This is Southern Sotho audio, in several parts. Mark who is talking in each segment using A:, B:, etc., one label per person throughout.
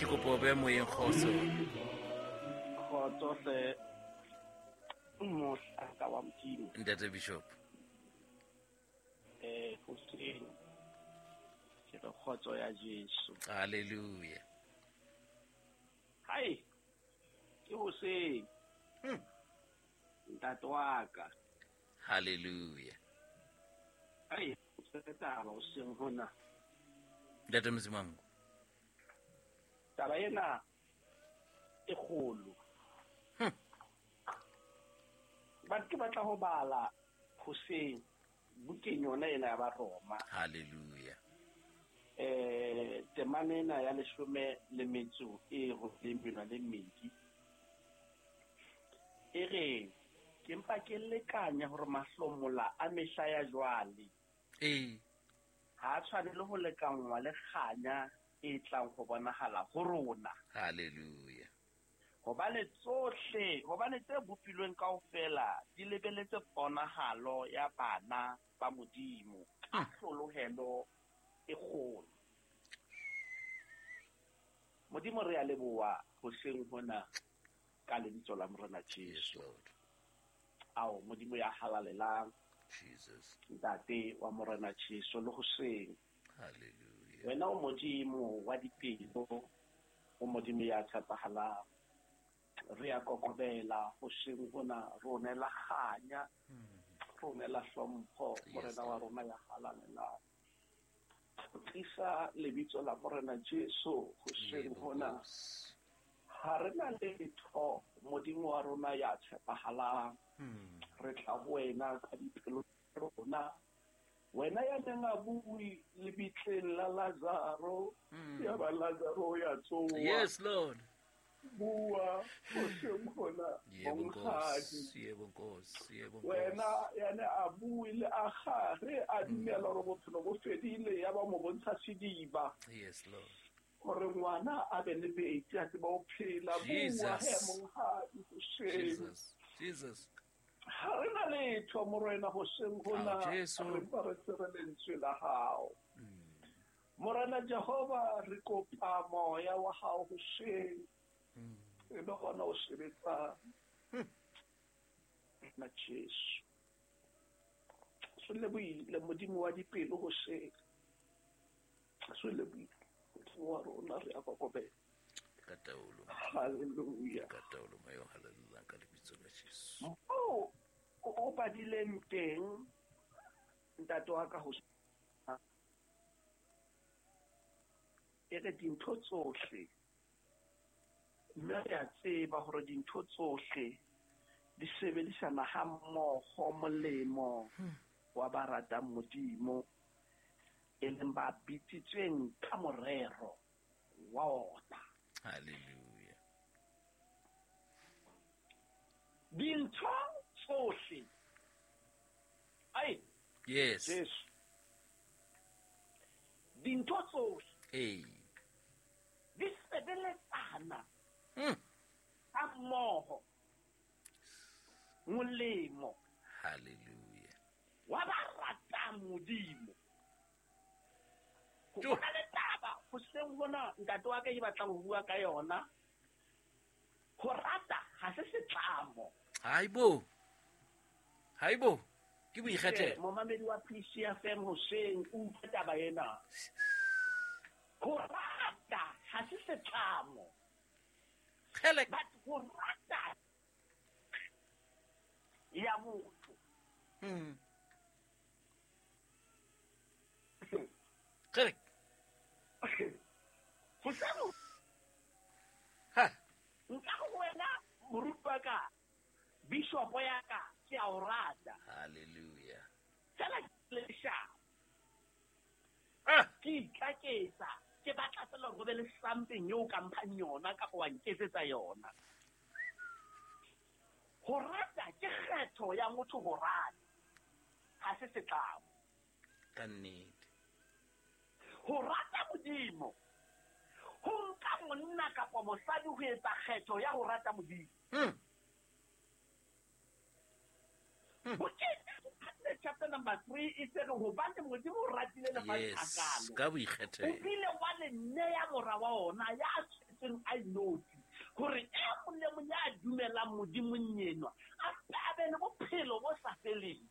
A: Ke kopa o be moyeng kgotso.
B: Kgotso hle mohlanka wa Modimo.
A: Ntate Bishop.
B: Hoseng ke re kgotso ya Jesu.
A: Hallelujah.
B: Hai, ke hoseng. Ntate wa ka.
A: Hallelujah.
B: Hai, o taba hoseng hona.
A: Ntate Mzimango.
B: Taba ena e kgolo. But ke batla ho bala hoseng bukeng yona ena ya Baroma.
A: Hallelujah.
B: Temana ena ya 18 e robileng le mmedi. E re ke mpa ke lekanya hore mahlomola a mehla ya jwale. Ha a tshwanele ho lekanngwa le kganya e tlang ho bonahala ho rona.
A: Hallelujah.
B: Hobane tsohle, hobane tse bopilweng kaofela di lebeletse ponahalo ya bana ba Modimo ka hlolohelo e kgolo. Modimo re a leboha hoseng hona ka lebitso la Morena
A: Yes,
B: Jesu.
A: Lord.
B: Ao Modimo ya halalelang.
A: Jesus.
B: Ntate wa Morena Jesu le hoseng.
A: Hallelujah.
B: Wena o Modimo wa dipelo, o Modimo ya tshepahalang. Re a kokobela hoseng hona, rona la kganya, rona la hlompho, Morena wa rona ya halalelang. Tlisa lebitso la Morena Jesu hoseng hona. Ha re na letho, Modimo wa rona ya tshepahalang. Re tla ho wena ka dipelo tsa rona. Wena ya neng a bue lebitleng la Lazaro, ya ba Lazaro ya tsoha.
A: Yes, Lord.
B: Bua hoseng hona,
A: Yebo
B: monghadi.
A: Nkosi, yebo Nkosi, yebo Nkosi.
B: Wena ya ne a bue le a gare a dumela hore bophelo bo fedile, ya ba mo bontsha sediba.
A: Yes, Lord.
B: Hore ngwana a be le metsi a tseba ho phela. Bua
A: Jesus.
B: he monghadi hoseng.
A: Jesus. Jesus.
B: Ha re na letho Morena hoseng hona,
A: Ao, Jesu.
B: re mpa re tsere lentswe la hao. Morena Jehova, re kopa moya wa hao hoseng. E be hona o sebetsang. Na Jesu. Se lebohile Modimo wa dipelo hoseng. Se lebohile Modimo wa rona, re a kokobela.
A: Ka taolo.
B: Hallelujah.
A: Ka taolo moya o halalelang ka lebitso la Jesu.
B: Moo o badileng teng ntate wa ka ho e re dintho tsohle, mme re a tseba hore dintho tsohle di sebedisana ha mmoho molemo wa ba ratang Modimo, e leng ba bitsitsweng ka morero wa ona.
A: Hallelujah.
B: Dintho tsohle. Ai.
A: Yes.
B: Jesu. Dintho tsohle.
A: Hey.
B: Di sebeletsana. Ha mmoho. Molemo.
A: Hallelujah.
B: Wa ba ratang Modimo. Ho na le taba hoseng hona ntate wa ka e batlang ho bua ka yona. Ho rata ha se setlamo.
A: Haibo. Haibo. Ke boikgethelo.
B: Momamedi wa PCFM hoseng o utlwe taba ena. Ho rata ha se setlamo.
A: Kgele.
B: But ho rata ya motho.
A: Kgele.
B: Hoseng.
A: Ha.
B: Nka ho wena moruti wa ka, bishop ya ka, ke a o rata.
A: Hallelujah.
B: Fela ke leshano. Ke itlaketsa, ke batla fela hore ho be le something eo ka mphang yona kapa wa nketsetsa yona. Ho rata ke kgetho ya motho ho rata. Ha se setlamo.
A: Ka nnete.
B: Ho rata Modimo. Ho nka monna kapa mosadi ho etsa kgetho ya ho rata Modimo. Bukeng chapter number 3 e se re hobane Modimo o ratile lefatshe
A: Yes,
B: hakalo.
A: ka boikgethelo.
B: O bile wa le neya mora wa ona ya tshwetsweng dutseng a inotsi hore e mong le mong ya dumelang Modimong enwa a be le bophelo bo sa feleng.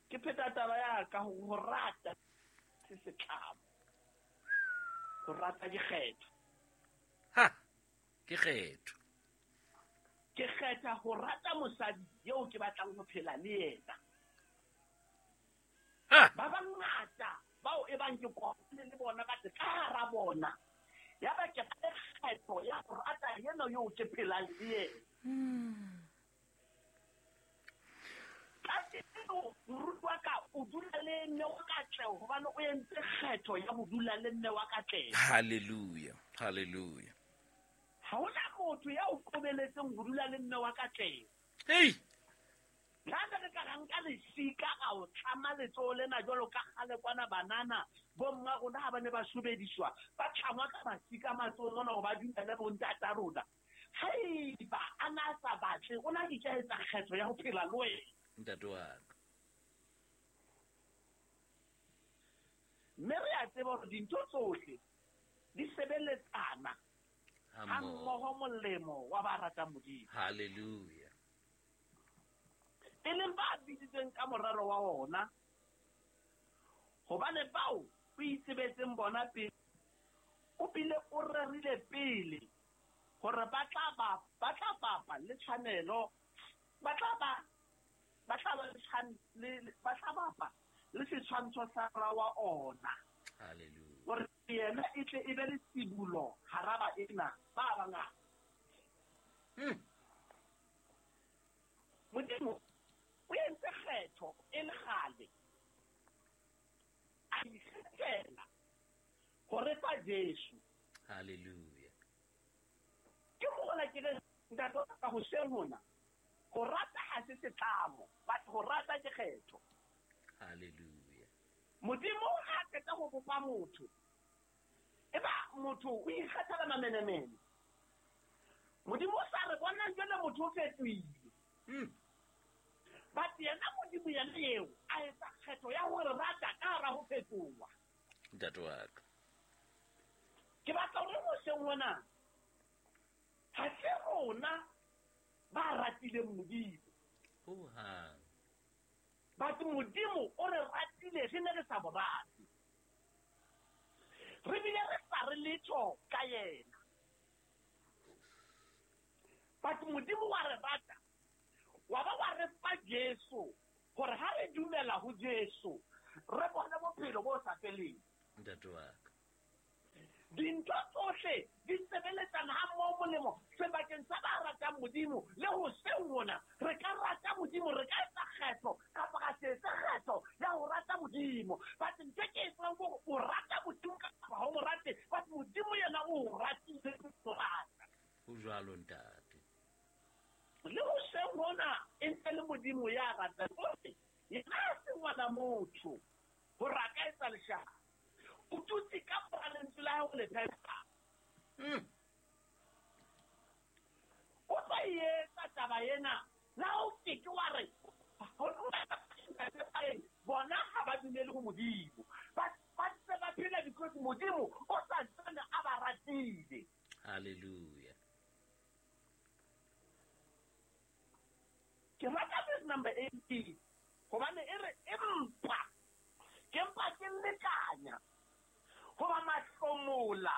B: Ke pheta taba ya ka ho rata se setlamo, ho rata ke kgetho.
A: Ha, ke kgetho.
B: Ke kgetha ho rata mosadi eo ke batlang ho phela le yena. Ba bangata bao e bang ke kopane le bona ba ka hara bona, ya ba ke kgetho ya ho rata yena eo ke phelang le yena. Moruti wa ka o dula le mme wa Katleho hobane o entse kgetho ya ho dula le mme wa Katleho.
A: Hallelujah, hallelujah.
B: Ha hona motho ya o qobeletseng ho dula le mme wa Katleho.
A: Hey!
B: La re ka nka lesika a o tlama letsoho lena jwalo ka kgale kwana banana bomma rona ha ba ne ba sobediswa ba tlangwa ka masika matsohong mona hore ba dumele bontata rona. Haeba a na sa batle, o na ke ka etsa kgetho ya ho phela le wena.
A: Ntate wa ka.
B: Mme re a tseba hore dintho tsohle di sebeletsana ha mmoho molemo wa ba ratang Modimo.
A: Hallelujah.
B: E leng ba biditsweng ka morero wa ona, hobane bao o itsebetseng bona pele, o bile o rerile pele hore ba tla bapa le tshwanelo, ba tla bapa le setshwantsho sa ra wa ona.
A: Hallelujah.
B: Hore yena e tle e be le tsibulo hara baena ba bangata. Modimo o entse kgetho e le kgale, a ikgethela hore fa Jesu.
A: Hallelujah.
B: Ke mola ke re ntate ka ho seng hona, ho rata ha se setlamo, but ho rata ke kgetho.
A: Hallelujah.
B: Modimo ha qeta ho bopa motho, eba motho o ikgethela mamenemene. Modimo o sa re bona jwale motho o fetohile. But yena Modimo yena eo a etsa kgetho ya hore rata ka hara ho fetoha.
A: Ntate wa ka.
B: Ke batla hore hoseng hona ha se rona ba ratileng Modimo.
A: Hohang.
B: But Modimo o re ratile re ne re sa mo rate. Re bile re sa re letho ka yena. But Modimo wa re rata, wa ba wa re fa Jesu, hore ha re dumela ho Jesu, re bone bophelo bo sa feleng.
A: Ntate wa ka.
B: Dintho tsohle di sebeletsana ha mmoho molemo sebakeng sa ba ratang Modimo le ho seng hona. Re ka rata Modimo, re ka etsa kgetho kapa ra se etse kgetho ya ho rata Modimo. But ntho ke e tsebang ke hore o rata Modimo kapa ha o mo rate, but Modimo yena o o ratile ho rata.
A: Ho jwalo ntate.
B: Le ho seng hona e ntse le Modimo ya ratang. O re yena ha se ngwana motho hore a ka etsa leshano. O dutse ka mora lentswe la hae ho le phetha. O tlo e etsa taba ena. La o ke ke wa re bona ha ba dumele ho Modimo. Ba ntse ba phela because Modimo o sa ntsane a ba ratile.
A: Hallelujah.
B: Ke rata verse number 18 hobane e re empa ke mpa ke lekanya hoba mahlomola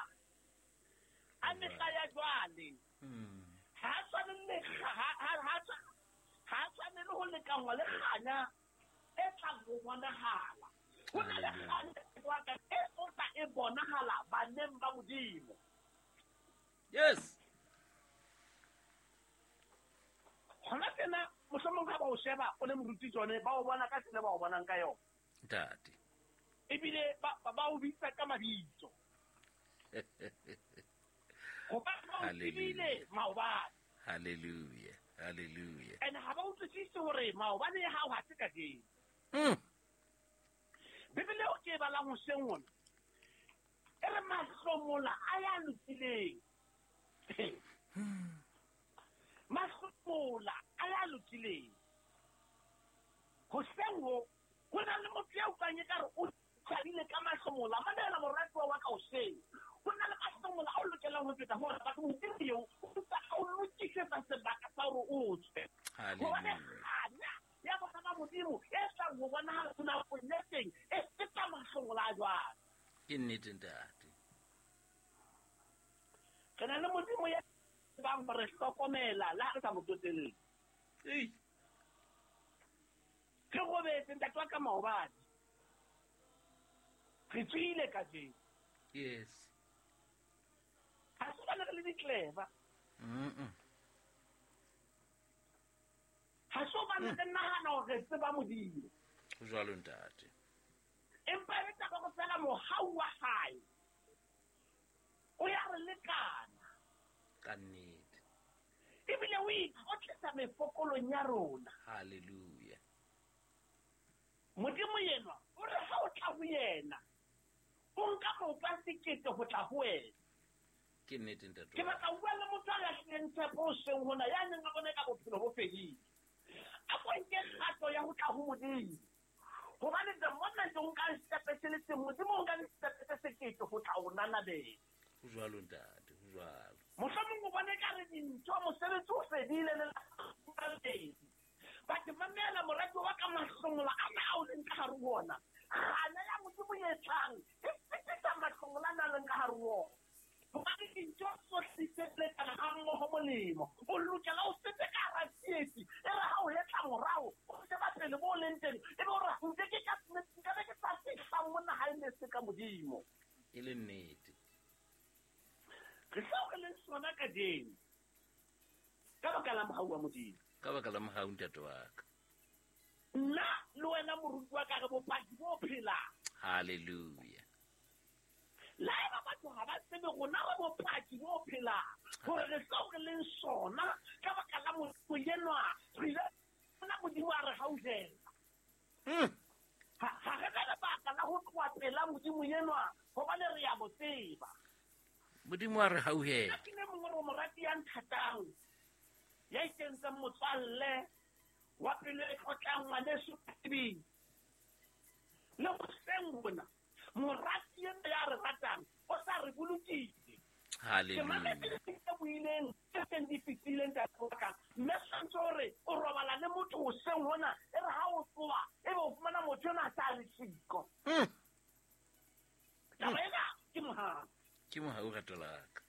B: a mehla ya jwale ha tshwane le ho lekangwa le kganya e tlang ho bonahala. Ho na le kganya e tla e bonahala baneng ba Modimo.
A: Yes.
B: Hona tjena mohlomong ha ba o sheba o le moruti tsone ba o bona ka tsela ba o bonang ka yona.
A: Ntate.
B: Ebile ba o bitsa ka mabitso. Hobane ba o tsebile maobane.
A: Hallelujah. Hallelujah.
B: And ha ba utlwisise hore maobane ya hao ha se kajeno. Bibele o ke e balang hoseng hona e re mahlomola a ya lokileng. Mahlomola a ya lokileng. Hoseng ho ho na le motho ya utlwang ekare o thabile ka mahlomola. Mamela moratuwa wa ka hoseng. Ho na le feta ho ona, batho Modimo eo o ntse a o lokisetsa sebaka sa hore o tswe. Hobane kganya ya bana ba Modimo e tlang ho bonahala nakong ya teng e feta mahlomola a jwale.
A: Ke nnete ntate.
B: Re na le Modimo ya tsebang ho re hlokomela le ha re sa mo tsotelle.
A: Ei.
B: Re robetse ntate wa ka maobane. Re tswile kajeno.
A: Yes.
B: Ha se hobane re le di-clever. Ha se hobane re nahana hore re tseba Modimo.
A: Ho jwalo ntate.
B: Empa e le taba hore feela mohau wa hae o ya re lekana.
A: Ka nnete.
B: Ebile o itlotlisa mefokolong ya rona.
A: Hallelujah.
B: Modimo yenwa o re ha o tla ho yena, o nka maoto a sekete ho tla ho wena.
A: Ke nnete ntate.
B: Ke batla ho bua le motho a lahlileng tshepo hoseng hona, ya neng a bona eka bophelo bo fedile. A ko nke kgato ya ho tla ho Modimo. Hobane the moment o nkang setepe se le seng, Modimo o nka distepe tse sekete ho tla o nanabela.
A: Ho jwalo ntate, ho jwalo.
B: Mohlomong o bone ekare dintho, mosebetsi o fedile le la. But mamela morati wa ka mahlomola ana ao leng ka hare ho ona. Kganya ya Modimo e tlang e fetisa mahlomola ana a leng ka hare ho ona. Hobane dintho tsohle di sebeletsana ha mmoho molemo. O lokela o fete ka hara tsietsi. E re ha o hetla morao, o sheba pele bo leng teng, e be o re nke ke ka nka be ke sa fihla mona ha e ne se ka Modimo.
A: E le nnete.
B: Re seo re leng sona kajeno ka baka la mohau wa Modimo.
A: Ka baka la mohau ntate wa ka.
B: Nna le wena moruti wa ka re bopaki bo phelang.
A: Hallelujah.
B: Le haeba batho ha ba tsebe rona re bopaki bo phelang hore re seo re leng sona ka baka la Modimo enwa, re ile bona Modimo a re hauhela. Ha re na lebaka la ho tloha pela Modimo enwa hobane re ya mo tseba.
A: Modimo a re hauhela.
B: Ke le mongwe re morati ya nthatang, ya ikentseng motswalle wa pelo e tlotlang ngwaneso Tebing. Le hoseng hona, morati ena ya re ratang o sa re bolokile.
A: Hallelujah.
B: Ke mametse tse buileng, tse seng di fetileng ntate wa ka. Mme tshwantse hore o robala le motho hoseng hona, e re ha o tsoha, ebe o fumana motho enwa a sa le siko. Taba ena ke mohau.
A: Ke mohau rato la ka.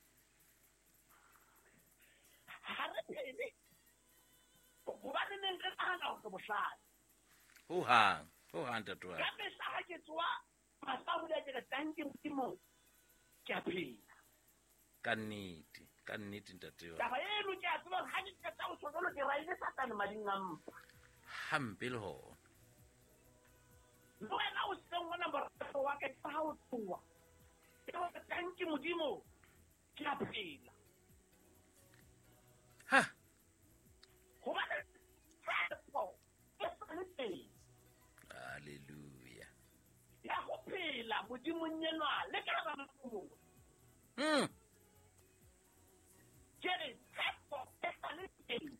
B: Ha re phele hobane neng re nahana hore re bohlale.
A: Ho hang, ho hang ntate wa ka.
B: Ka mehla ha ke tsoha mahlo a ke re tanki Modimo, ke a phela.
A: Ka nnete, ka nnete ntate wa.
B: Taba eno ke a tseba hore ha ke qeta ho tjho jwalo ke raile Satane mading a mpa.
A: Hampe le hona.
B: Le wena o seng hona morato wa ka ke ha o tsoha. Ke hore tanki Modimo, ke a phela.
A: Ha.
B: Hobane tshepo e sa le teng.
A: Hallelujah.
B: Ya ho phela Modimong enwa le ka hara mahlomola. Ke re tshepo e sa le teng.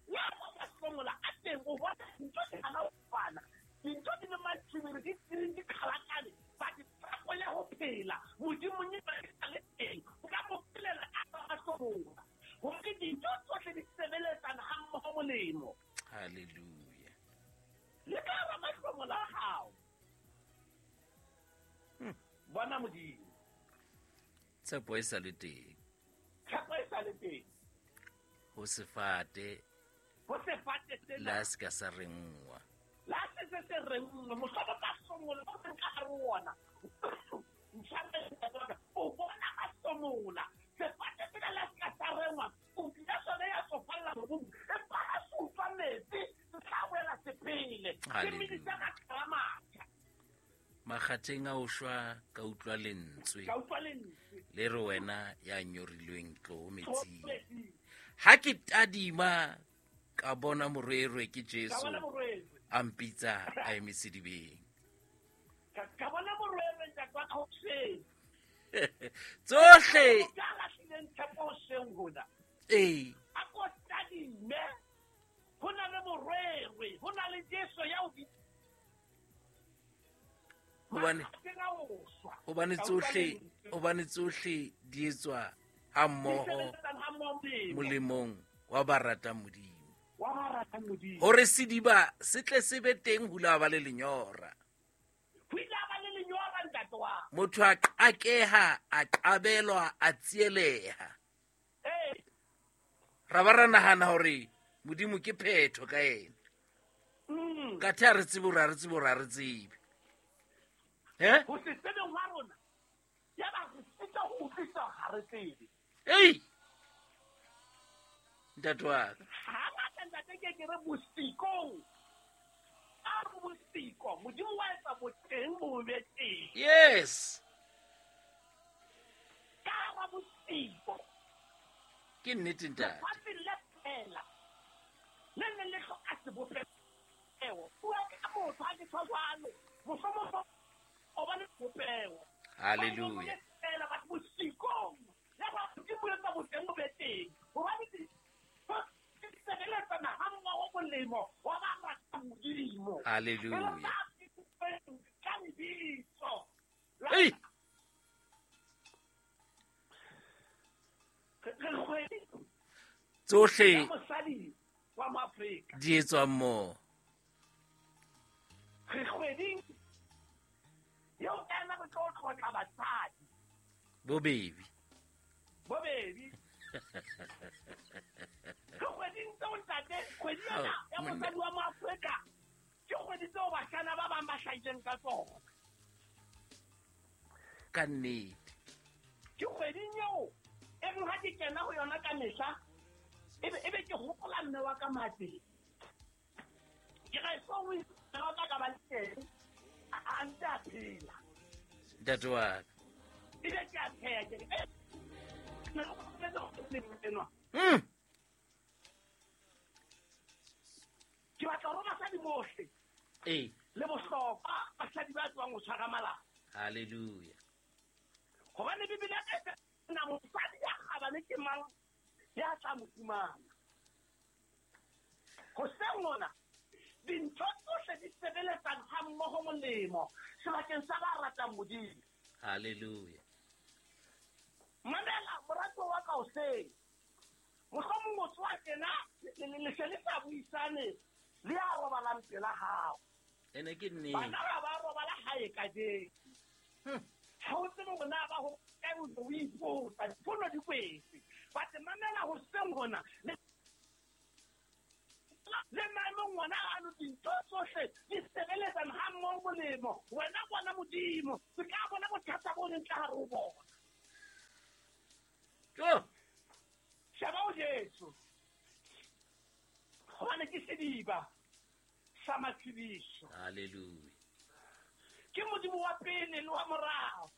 B: Ya ho mahlomola a teng o bona dintho di hana ho fana. Dintho di le matshwiri, di di qhalakane. But tshepo ya ho phela Modimong enwa e sa le teng. O ka mo phelela ka hara mahlomola. Hore dintho tsohle di sebeletsana ha mmoho molemo.
A: Hallelujah.
B: Le ka hara mahlomola a hao. Bona Modimo.
A: Tshepo e sa le teng.
B: Tshepo e sa le teng.
A: Ho sefate.
B: Ho sefate sena.
A: La se ka sa rengwa.
B: La se se se rengwa. Mohlomong mahlomola o reng ka hare ho ona. Ntshwarele, o bona mahlomola. Sefate sena la se ka sa rengwa. O tlile sona ya tsofalla mobung. Empa ha se utlwa metsi, se tla boela se phele. Se medisa makala a matjha.
A: Makgatheng a o shwa ka utlwa lentswe.
B: Ka utlwa lentswe.
A: Le re wena ya nyorilweng tlo metsing.
B: Tlo metsing.
A: Ha ke tadima ka bona morwerwe ke Jesu.
B: Ka bona morwerwe.
A: A mpitsa a eme sedibeng.
B: Ka bona morwerwe ntate wa ka hoseng.
A: Tsohle.
B: Ka lahlileng tshepo hoseng hona.
A: Ee.
B: A ko tadime. Ho na le morwerwe, ho na le Jesu ya o bitsa.
A: Hobane tsohle di etswa Ha mmoho molemong wa ba ratang Modimo.
B: Wa ba ratang Modimo.
A: Hore sediba se tle se be teng ho la ba le lenyora.
B: Ho ile ba le lenyora ntate wa.
A: Motho a qakeha, a qabelwa, a tsieleha.
B: Eh.
A: Ra ba ra nahana hore Modimo ke phetho ka yena. Ka the a re tsebe hore a re tsebe hore a re tsebe. Eh?
B: Ho se tsebeng hwa rona. Ya ba re sita ho utlwisisa ha re tsebe.
A: Ei! Ntate wa ka.
B: Ha ngata ntate ke re bosikong. A re bosiko, Modimo wa etsa boteng bo be teng.
A: Yes.
B: Ka hara bosiko.
A: Ke nnete ntate.
B: Lefatshe le fela. Le ne le hloka sebopeho. Bua ka motho ha ke tjho jwalo. Mohlomong o ba le sebopeho.
A: Hallelujah.
B: Fela batho bosikong. Ya ba Modimo etsa boteng bo be teng. Hobane di sebeletsana ha mmoho molemo wa ba ratang Modimo.
A: Hallelujah.
B: Ka lebitso.
A: Ei!
B: Re kgwedi
A: Tsohle
B: ya mosadi wa Moafrika.
A: di etswa mmoho.
B: Re kgweding eo ka yona re tlo tlotla basadi.
A: Bobedi.
B: Bobedi. Ke kgweding tseo ntate, kgwedi ena ya mosadi wa Moafrika ke kgwedi tseo bashana ba bang ba hlahileng ka tsona.
A: Ka nnete.
B: Ke kgweding eo e reng ha ke kena ho yona ka mehla, ebe ke hopola mme wa ka mateng. Ke re so o mme wa ka ka ba le teng, a ntse a phela.
A: Ntate wa ka.
B: Ebe ke a tsheha, ke re, ne re kgopetse ho enwa. Ke batla hore basadi bohle le bohlokwa basadi ba tswang ho tshwara malapa.
A: Hallelujah.
B: Hobane Bibele e re na mosadi ya kgabane ke mang ya tla mo fumana. Hoseng hona dintho tsohle di sebeletsang ha mmoho molemo sebakeng sa ba ratang Modimo.
A: Hallelujah.
B: Mamela moratuwa wa ka hoseng. Mohlomong o tswa tjena le se le sa buisane le ya robalang pela hao.
A: Ene ke nnete.
B: Bana ha ba robala hae kajeno. Ha o tsebe hore na ba ho kae o ipotsa, difono di kwetse. But mamela hoseng hona le maemong ona ano dintho tsohle di sebeletsang ha mmoho molemo. Wena bona Modimo, se ka bona bothata bo leng ka hare ho bona.
A: Jo.
B: Sheba o Jesu. Hobane ke sediba sa matshediso.
A: Hallelujah.
B: Ke Modimo wa pele le wa morao.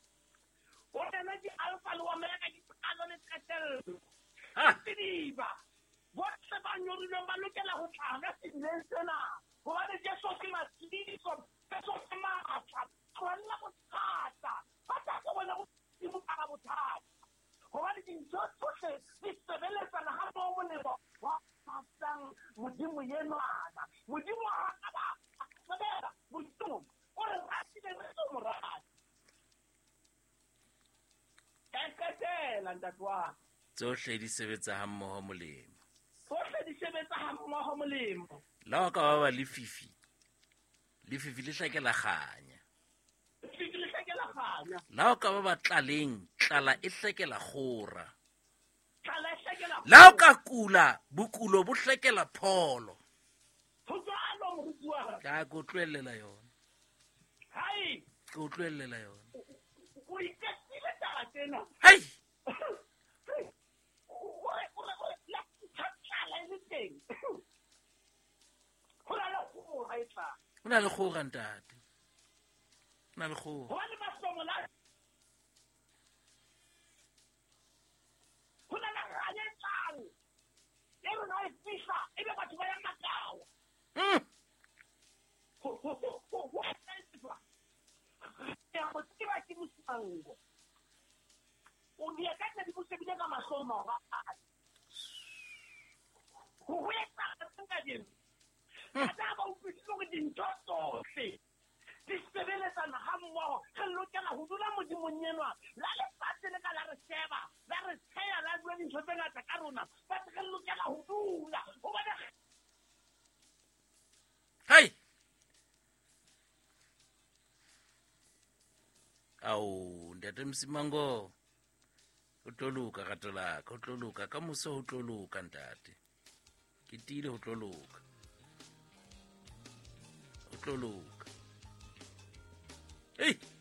B: O rena ke Alpha le Omega, ke qalo le qetello. Sediba. Bohle ba nyorilweng ba lokela ho tla ka sedibeng sena. Hobane Jesu ke matshediso, Jesu ke matla. Tlohella bothata. Ba tla go bona Modimo ka bothata. Hobane dintho tsohle di sebeletsana ha mmoho molemo wa ratang Modimo enwana. Modimo ha ka ba sebela, Modimo o re ratile re tlo mo rata. Ka qetela ntate wa ka.
A: Tsohle di sebetsa ha mmoho molemo.
B: Tsohle di sebetsa ha mmoho molemo.
A: La ka ba ba lefifi. Lefifi le hlakela kganya.
B: Lefifi le hlakela kganya.
A: La ka ba ba tlaleng, tlala e hlakela kgora.
B: Tlala e hlakela kgora.
A: La ka kula, bokulo bo hlakela pholo.
B: Ho jwalo moruti wa ka.
A: Ka go tlohella yona.
B: Hai.
A: Ke o tlohella yona.
B: O iketsile taba tsena.
A: Hai.
B: O re la tlala e le teng. Ho na le kgora e tlang.
A: Ho na le kgora ntate. Ho na le kgora.
B: Hobane mahlomola ho na le kganya e tlang. E re ha e fihla, ebe batho ba ya makao. Ho etswa. Ya go tseba ke mosango. O di ka nna di bosebile ka mahlo maobane. Ho etsa kajeno. Ka ba utlwisise hore dintho tsohle di sebeletsana ha mmoho. Re lokela ho dula Modimong enwa. La lefatshe le ka la re sheba, la re tsheya, la
A: Ao, ntate Msimango, o tlo loka rato la ka, o tlo loka ka moso, ho tlo loka ntate. Ke tiile ho tlo loka. Ho tlo loka. Ei!